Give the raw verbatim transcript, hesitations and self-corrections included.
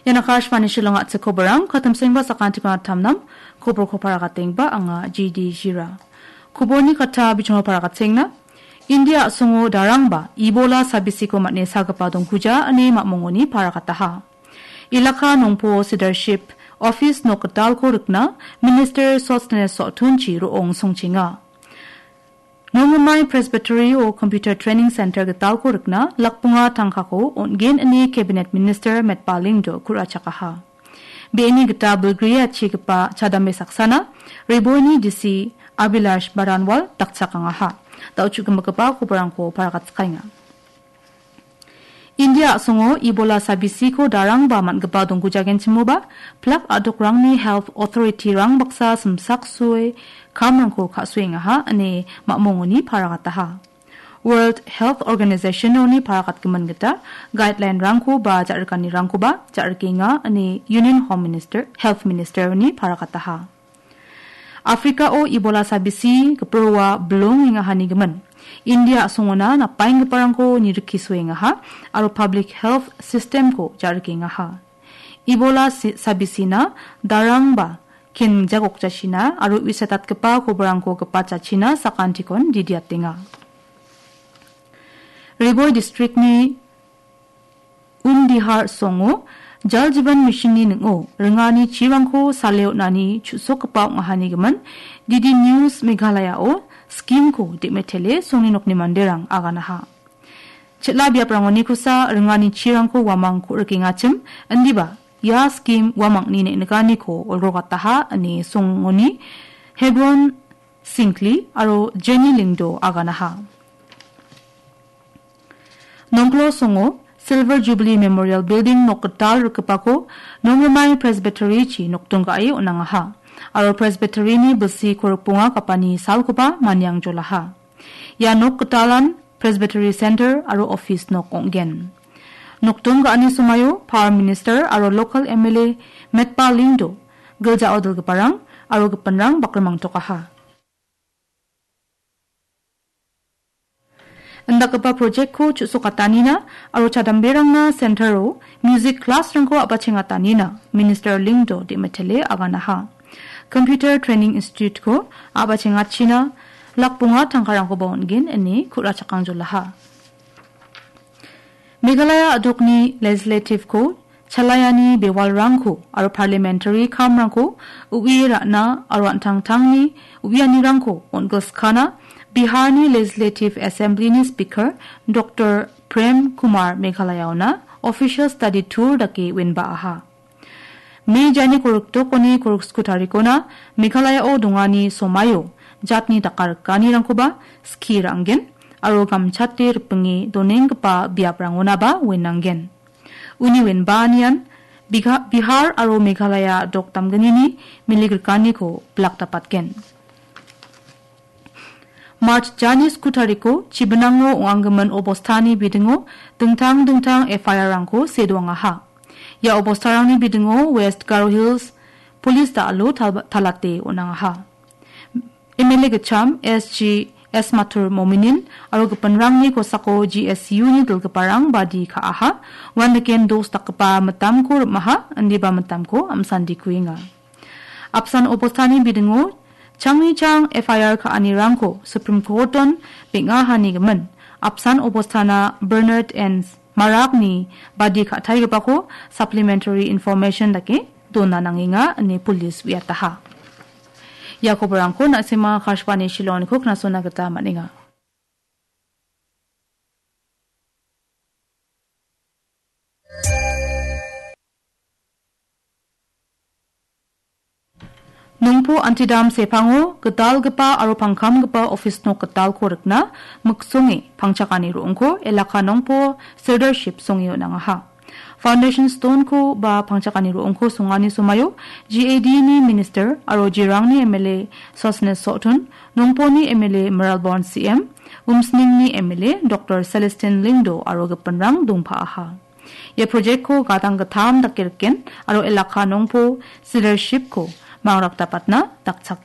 Ian Akashvani Shillong a·chik koborang, katamsengba sakantikon atamnam, koborko paragatengba anga G D Jira. Koborni kata bichongo paragatenga. India a·songo darangba Ebola sabisiko man·e sagipa dongkuja ine mamongoni paragataha. Elaka nongpo Sidarship office nok gitalko rikna Minister Sosthenes Sohtunchi ro·ong songchenga. Nongremai Presbytery-o Computer Training Center gitalko rikna lakbonga tangkako on·gen ine Cabinet Minister Metba Lyngdoh ku·rachakaha. Be·eni gita bilgriachigipa chadambe saksana Riboini D C Abhilash Baranwal dakchakangaha. Da·o chu·gimikgipa koborangko paragatskaenga. India a·songo Ebola sabisiko darangba man·gipa donggujagenchimoba, plak a·dokrangni health authority-rang baksa simsaksue kamrangko ka·suengaha ine mamongoni paragataha. World Health Organization-oni paragatgimin gita guideline-rangko ba ja·rikanirangkoba ja·rikenga ine Union Home Minister, Health Minister-oni paragataha. Afrika-o Ebola sabisi giproa bilongengahanigimin India a·songona napbaenggiparangko nirikisuengaha aro public health system-ko ja·rikengaha. Ebola si-, sabisina darangba kengjagokjasina aro uisatatgipa koborangko gipachachina sakantikon didiatenga. Riboi district-ni Umdihar songo Jal Jeevan Mission-ni ning·o ringani chirangko sale on·ani chu·sokgipa ong·ahanigimin D D News Meghalaya-o scheme-ko de·metele songni nokni manderang aganaha. Chel·a biaprangonikosa ringani chirangko uamang ku·rikengachim, indiba ia scheme uamangni neng·nikaniko olgrogataha ine songoni Hebron Singkli aro Jenny Lyngdoh aganaha. Nongpolo songo Silver Jubilee Memorial Building nok gital rikgipako Nongrimai Presbytery-chi nokdong ga·e on·angaha. Aro Presbytery-ni bilsi korikbonga gapani salkoba maniangjolaha. Ia nok gitalan Presbytery Center aro office nok ong·gen. Nokdong ga·ani somaio Power Minister aro local M L A Metba Lyngdoh, gilja odilgiparang aro gipinrang bakrimangtokaha. Indakgipa project-ko chu·sokatanina aro chadamberangna center-o music class-rangko a·bachengatanina Minister Lyngdoh de·metele aganaha. Computer Training Institute-ko a·bachengachina lakbonga tangkarangkoba on·gen ine ku·rachakangjolaha. Meghalaya a·dokni legislative-ko chalaiani bewalrangko aro parliamentary kamrangko u·ie ra·na aro an·tangtangni u·ianirangko on·gilskana Biharni Legislative Assembly-ni Speaker Doctor Prem Kumar Meghalayaona official study tour dake wenba·aha. Me jani korikdokoni koriksku tarikona Meghalayao dongani somaio jatni dakarikanirangkoba skie ra·angen aro gamchate ripinge donenggipa biaprangonaba wenangen. Uni wenbaanian Bigha-, Bihar aro Meghalaya dok damgnini miligrikaniko bilakdapatgen. March jani sku tariko chibinango ong·anggimin obostani bidingo dingtang dingtang F I R-rangko sedoangaha. Ia obostarangni bidingo West Garo Hills Police da·alo tal-, talate on·angaha. M L A gitcham S G S Mathur Mominin aro gipinrangni kosako G S U-ni dilgiparang badi ka·aha, uan niken dos dakgipa mitamko rim·aha, indiba mitamko am·sandikuenga. Apsan obostani bidingo changni chang F I R ka·anirangko Supreme Court-on beng·ahanigimin, apsan obostana Bernard N Marakni badi ka·taigipako supplementary information dake dona nangenga ine police uiataha. Ia koborangko na·sima Akashvani Shillong-niko knasona gita man·enga. Nongpo Antidam sepango gitalgipa aro pangkamgipa office nok gitalko rikna miksonge pangchakani ro·ongko elaka Nongpo Sirdarship songe on·angaha. Foundation stone-ko ba pangchakani ro·ongko songani somaio G A D-ni minister aro Jirangni M L A Sosnes Sohtun, Nongponi M L A Mayralborn C M, Umsningni M L A Doctor Celestine Lyngdoh aro gipinrang dongpa·aha. Ia project-ko gadang gittam dake riken aro elaka Nongpo Sirdarship-ko mangrakdapatna dakchak-,